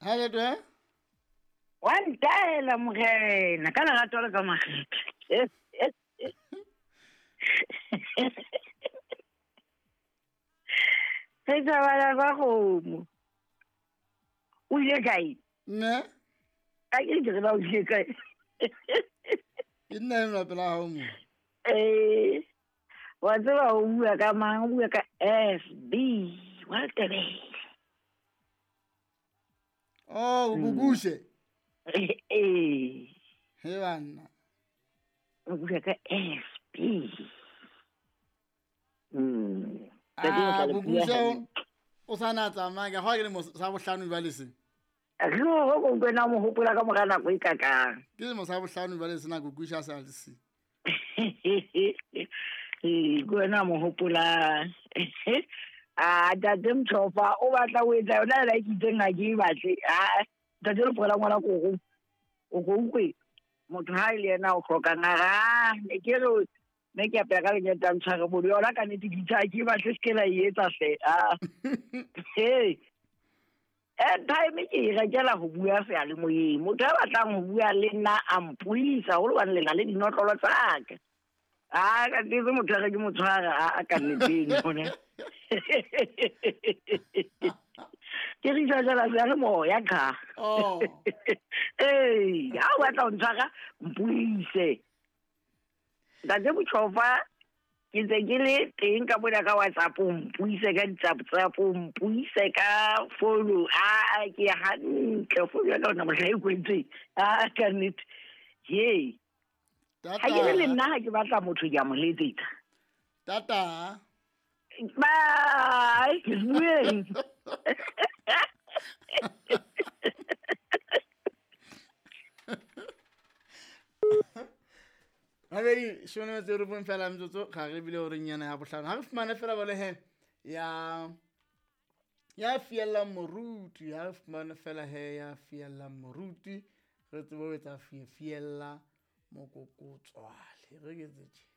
Ha le twe? Wa ntaela morena ka lerato le ka makgethe. Re tsamaya ba kgomo. O ile kae? Ne? A ke ke re ba o ile kae? Ke nna enwa pela hao mo. Eh. Wa tseba o bua ka mang? O bua ka FB wa Tebele. Oh, Gugushe. Eh. He banna. O bua ka FB. Ah, Gugushe o sa na tsamaya ka ga ke le mo sa bohlano jwale se. Re go go kwena mo hopola ka mora nako e kakang. Ke le mo sa bohlano jwale se na Gugushe a sa le se. Ee, ke wena mo hopolang. A tate Mthofa o batla o etsa yona la ke itseng ha ke e batle. A tate le pola ngwana koko. O go ukwe motho ha ile yena o hlokang a ra ne ke re ne ke apea ka lenyata ntshware bodo yona ka nnete ke itse ha ke e batle se ke la e etsa hle. A hey airtime ke e rekela ho bua seyalemoyeng. Motho a batlang ho bua le nna a mpuisa haholo hobane le na le dinotlolo tsa ka. A ka nnete motho a re ke mo tshwara a ka nneteng yone. Ke re isa jala seyalemoya qha. Oh. Ee, ha o batla ho ntshwara mpuise. Ntate Motjhofa ke ntse ke le teng ka mona ka WhatsApp mpuise ka di-WhatsApp mpuise ka founu a ke hantle founu ya ka ona mohla e kwetseng a ka nnete he ha ke le nna ha ke batla motho ke a mo letsetsa. Tata. Bye ke bueng. Gabedi shone metse re bong fela metsotso ga re bile gore nyana ya bohlano ga re fumane fela bole he ya ya fiellang moruti ha re fumane fela he ya fiellang moruti re tsebe ho etsa fiella mokokotswale re ke tse tje.